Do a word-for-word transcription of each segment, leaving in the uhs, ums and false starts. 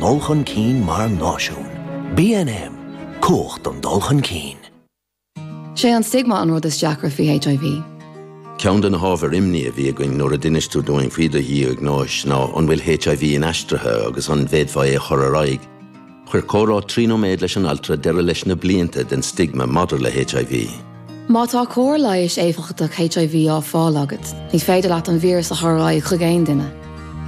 ndul chun cinn mar náisiún. BNM, cumhacht don dul chun cinn. Sé an stigma an rud is deacra faoi HIV. Ceann de na hábhair imní a bhí againn nuair a d'inis tú dúinn faoi do dhiagnóis ná an bhfuil HIV inaistrithe agus an bhféadfaí é a chur ar aghaidh. Chuir comhrá trí nóiméad leis an altra deireadh leis na blianta den stigma maidir le HIV. Má tá cóir leighis éifeachtach HIV á fáil agat, ní féidir leat an víreas a chur ar aghaidh chuig aon duine.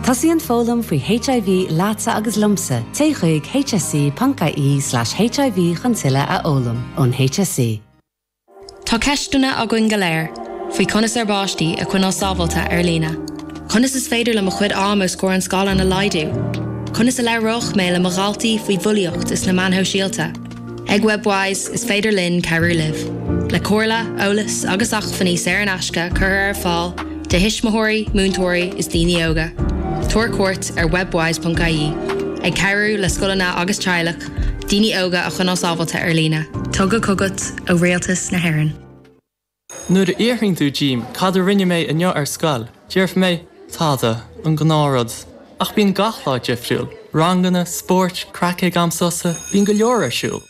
Tosaíonn foghlaim faoi HIV leatsa agus liomsa, téigh chuig hse.ie slash HIV chun tuilleadh a fhoghlaim ón HSE. Tá ceisteanna againn go léir faoi conas ár bpáistí a choinneáil sábháilte ar líne. Conas is féidir liom mo chuid ama os comhair an scáileáin a laghdú? Conas a labhróidh mé le mo dhaltaí faoi bhulaíocht is na meáin shóisialta. Ag Webwise is féidir linn cabhrú libh. Le comhairle, eolas agus acmhainní saor in aisce curtha ar fáil do thuismitheoirí, múinteoirí is daoine óga. Tabhair cuairt ar webwise.ie, ag cabhrú le scoileanna agus teaghlaigh, daoine óga a choinneáil sábháilte ar líne. Tugtha chugat ó Rialtas na hÉireann. Nuair a fhiafraíonn tú díom cad a rinne mé inniu ar scoil, déarfaidh mé tada an gnáthrud. Ach bíonn gach lá difriúil, ranganna, spóirt, craic ag am sosa, bíonn go leor ar siúl.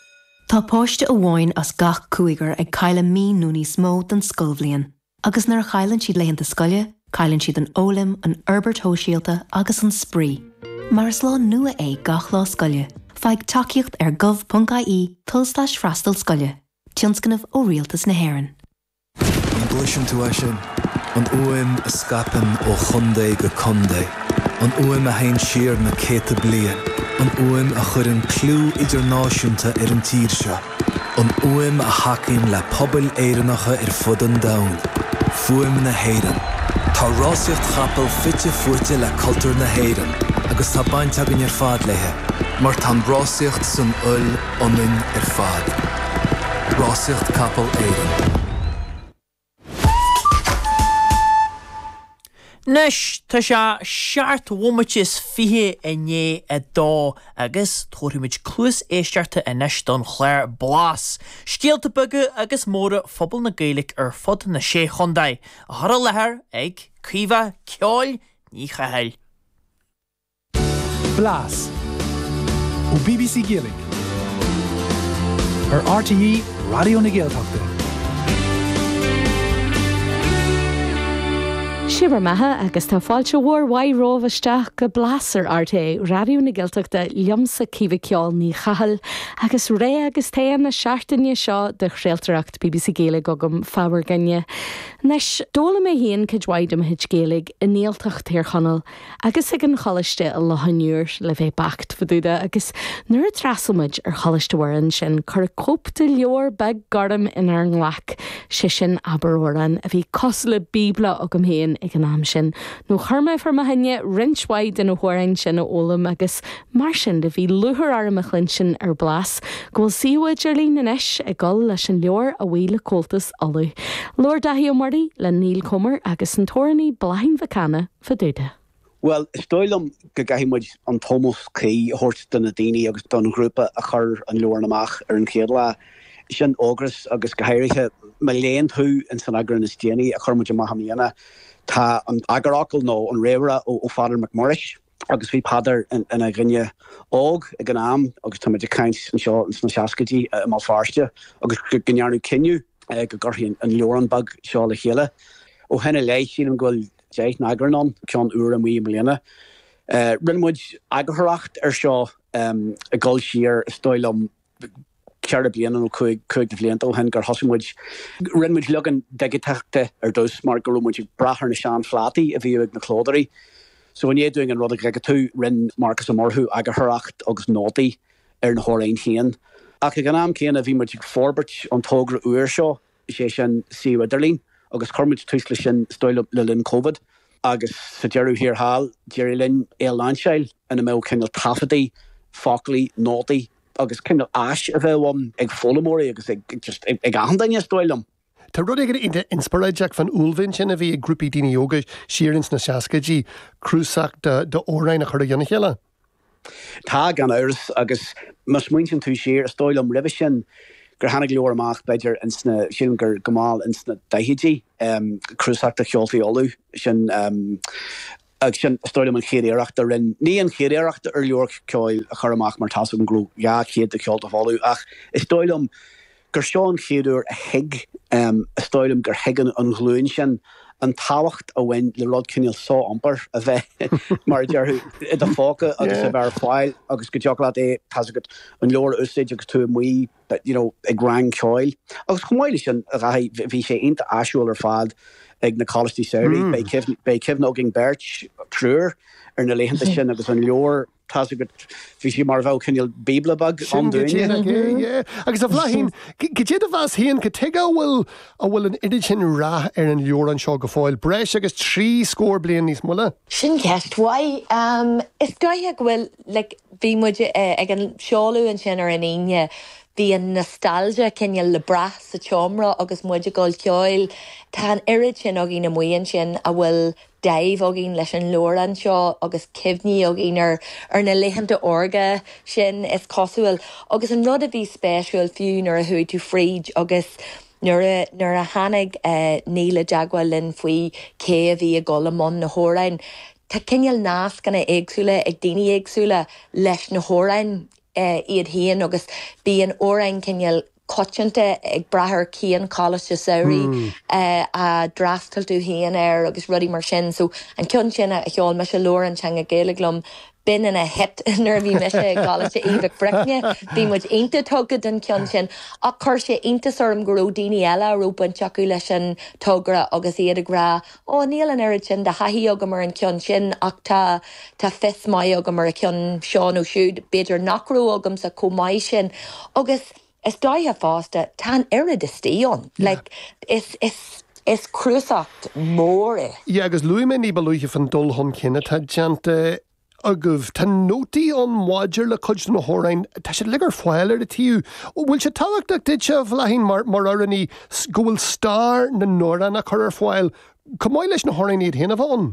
Tá páiste amháin as gach cúigear ag cailleadh mí nó níos mó den scoilbhliain, agus nuair a chailleann siad laethanta scoile, cailleann siad an fhoghlaim, an fhorbairt shóisialta agus an spraoi. Mar is lá nua é gach lá scoile, faigh tacaíocht ar gov.ie tulslais freastal scoile, tionscnamh ó Rialtas na hÉireann. An gcloiseann tú é sin? An fhuaim a scaipeann ó chontae go contae. An fhuaim a théann siar na céadta bliain, an fhuaim a chuireann clú idirnáisiúnta ar an tír seo. An fhuaim a thacaíonn le pobail Éireannacha ar fud an domhain. Fuaim na hÉireann. Tá rásaíocht chapall fite fuaite le cultúr na hÉireann, agus tá baint againn ar fad léi, mar tá an rásaíocht san fhuil ionainn ar fad. Rásaíocht Capall Éireann. Anois tá sé seacht bhomaite is fiche i ndiaidh a dó agus tabharfaimid cluas éisteachta anois don chlár Blas. Scéalta beaga agus móra phobal na Gaeilge ar fud na sé chontae, á chur i láthair ag Caoimhe Ceoil Ní Chathail. Blas ó BBC Gaeilge ar RTÉ Raidió na Gaeltachta. Sé bhur mbeatha agus tá fáilte mhór mhaith romhaibh isteach go Blas ar RTÉ Raidió na Gaeltachta liomsa Caoimhe Ceoil Ní Chathail agus ré agus tae na seachtaine seo de chraoltóireacht BBC Gaeilge agam fá bhur gcoinne. Anois d'fhoghlaim mé féin cuid mhaith de mo chuid Gaeilge i nGaeltacht Thír Chonaill agus ag an choláiste i Loch an Iúir le bheith beacht fá dtaobh de agus nuair a d'fhreastail muid ar Choláiste Mhuire ansin cuireadh cóip de leabhar beag gorm inár nglac sé sin Abair Amhrán a bhí cosúil le Bíobla agam féin ag an am sin. Nó chuir mé fá mo choinne roinnt mhaith de na hamhráin sin a fhoghlaim agus mar sin de bhí lúcháir orm a chluinstin ar Blas go bhfuil suíomh idirlín anois ag dul leis an leabhar a bhuí le Comhaltas Uladh. Labhair Dáithí Ó Muirí le Neil Comer agus an t-amhránaí Bláithín Mhic Cana fá dtaobh de. Bhuel, is dóigh liom go gcaithfidh muid an t-ómós cuí a thabhairt do na daoine agus don ghrúpa a chuir an leabhrán amach ar an chéad lá. Sin Ógras agus go háirithe má léann tú in san eagrán is déanaí a chuir muid amach i mbliana, tá an eagarfhocal nó an réamhrá ó Pheadar Mac Muiris agus bhí Peadar ina dhuine óg ag an am agus tá muid ag caint anseo sna seascaidí i mBéal Feirste agus go ndearnadh cinneadh go gcuirfí an leabhrán beag seo le chéile. Ó shin i leith sílim go bhfuil deich n-eagrán ann, ceann úr amuigh i mbliana. Rinne muid eagarthóireacht ar seo ag dul siar is dóigh liom ceithre bliana nó cúig cúig de bhlianta ó shin gur thosaigh muid. Rinne muid leagan digiteach de ar dtús mar go raibh muid ag brath ar na seanphlátaí a bhíodh ag na clódóirí. So i ndiaidh dúinn an rud a dhigitiú, rinne Marcus Ó Murchú eagarthóireacht agus nótaí ar na hamhráin féin. Ach ag an am céanna bhí muid ag forbairt an togra úr seo, is é sin suíomh idirlín, agus chuir muid tús leis sin is dóigh liom le linn Covid. Agus sa deireadh thiar thall, d'éirigh linn é a lainseáil ina mbeadh cineál taifeadtaí, foclaí, nótaí agus cineál áis a bheadh ann ag foghlaimeoirí agus ag just ag achan duine is dóigh liom. Tá rud éigin iontach inspioráideach fán uaillmhian sin a bhí ag grúpaí daoine óga siar ins na seascaidí, cnuasach d'amhráin a chur i gcionn a chéile. Tá, gan amhras, agus má smaointíonn tú siar, is dóigh liom roimhe sin gur tháinig leabhar amach b'fhéidir ins na, sílim gur go mall ins na daichidí, cnuasach de cheoltaí Uladh, sin Agus sin is dóigh liom an chéad iarracht a rinne, ní an chéad iarracht ar leabhar ceoil a chur amach mar tá's agam go raibh dhá chéad de cheolta folamh ach is dóigh liom gur seo an chéad uair a thuig, is dóigh liom gur thuig an ghlúin sin an tábhacht a bhain le rud cineál so-iompair a bheith mar a déarfá i do phóca agus a bheith ar fáil agus go dtiocfadh leat é, tá's agat, an leabhar a úsáid agus tú amuigh you know ag rang ceoil. Agus chomh maith leis sin, a Dháithí, bhí sé iontach áisiúil ar fad ag na coláistí samhraidh. Beidh cuimhne, beidh cuimhne againn beirt, triúr, ar na laethanta sin agus an leabhar, tá's agat, bhí sé mar a bheadh cineál bíobla beag Sin ann go dúinne. díreach é, yeah. Agus a Bhláithín, cad é do mheas féin, cad tuige a bhfuil, a bhfuil an oiread sin rath ar an leabhrán seo go fóill, breis agus trí scór bliain níos moille? Sin ceist mhaith. Is dóiche go bhfuil, like, bhí muid ag an seoladh ansin ar an Aoine, Bhí an nostalgia cineál le brath sa tseomra agus muid ag dul ceoil. Tá an oiread sin againn amuigh ansin a bhfuil dáimh againn leis an leabhrán seo agus cuimhní againn ar ar na laethanta órga sin, is cosúil. Agus an rud a bhí spéisiúil fiú nuair a chuaigh tú fríd agus nuair a nuair a tháinig Niall i dteagmháil linn faoi cé a bhí ag dul i mbun na hamhráin, tá cineál nascanna éagsúla ag daoine éagsúla leis na hamhráin. iad féin agus bíonn amhráin cineál coitianta ag brath ar cén coláiste samhraidh a d'fhreastail tú féin air agus rudaí mar sin. So an ceann sin a cheol mise, Labhair an Teanga Gaeilge liom, b'in ina hit nuair a bhí mise i gColáiste Uí Mhic Bricne. Bhí muid iontach tugtha don cheann sin. Ach chuir sé iontas orm go raibh daoine eile a raibh baint acu leis an togra agus iad ag rá Ó, níl an oiread sin de thaithí agam ar an cheann sin ach tá tá fios maith agam ar an cheann seo nó siúd, b'fhéidir nach raibh agamsa chomh maith sin. Agus is dóiche fosta, tá an oiread istigh ann. Like, is is is cnuasach mór é. Yeah, agus luaigh mé ní ba luaithe fan dul chun cinn atá déanta agaibh. Tá nótaí ann maidir le cuid de na hamhráin, tá siad uilig ar fáil ar an taobh. Bhfuil sé tábhachtach duitse, a Bhláithín, mar mar amhránaí, go bhfuil stair na n-amhrán á cur ar fáil, chomh maith leis na hamhráin iad féin a bheith ann?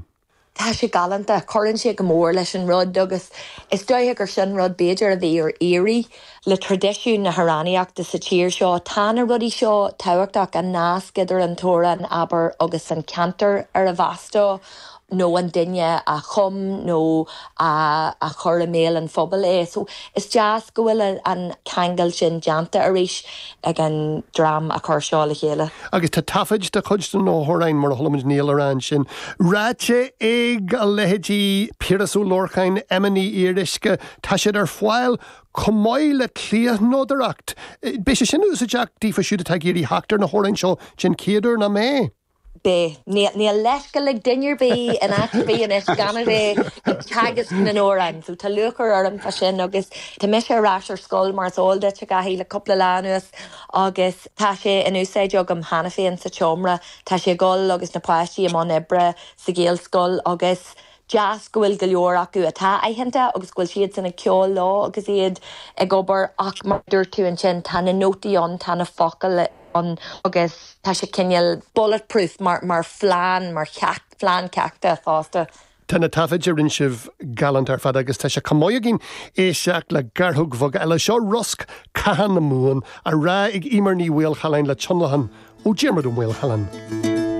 Tá sé galánta, cuireann sé go mór leis an rud agus is dóiche gur sin rud b'fhéidir a bhí ar iarraidh le traidisiún na hamhránaíochta sa tír seo. Tá na rudaí seo tábhachtach, an nasc idir an t-amhrán, abair, agus an ceantar arbh as dó. nó an duine a chum nó a a chuir i mbéal an phobail é. So is deas go bhfuil an ceangal sin déanta arís ag an dream a chuir seo le chéile. Agus tá taifid de chuid de na hamhráin, mar a chuala muid Niall a rá ansin, ráite ag a leithéidí Piaras Ó Lorcáin, Emma Ní Fhíoruisce, tá siad ar fáil chomh maith le cliathnodaireacht. Beidh sé sin úsáideach daofa siúd atá ag iarraidh theacht ar na hamhráin seo den chéad uair, nach mbeidh? Beidh. Níl leithscéal ag duine ar bith in áit ar bith anois gan a bheith ag teagasc na n-amhrán. So tá lúcháir orm fá sin agus tá mise ar ais ar scoil mar is eol duit, a Dháithí, le cúpla lá anuas agus tá sé in úsáid agam cheana féin sa tseomra. Tá sé ag dul agus na páistí i mbun oibre sa Ghaelscoil agus deas go bhfuil go leor acu atá aitheanta agus go bhfuil siadsan ag ceol leo agus iad ag obair ach mar a dúirt tú ansin tá na nótaí ann, tá na focail ann agus tá sé cineál bulletproof mar mar phlean, mar cheacht, phlean ceachta fosta. Tá na taifid a rinne sibh galánta ar fad agus tá sé chomh maith againn éisteacht le gearrthóg bheag eile. Seo Rosc Catha na Mumhan á rá ag Eimear Ní Mhaolchalláin le tionlacan ó Diarmuid Ó Maolchalláin.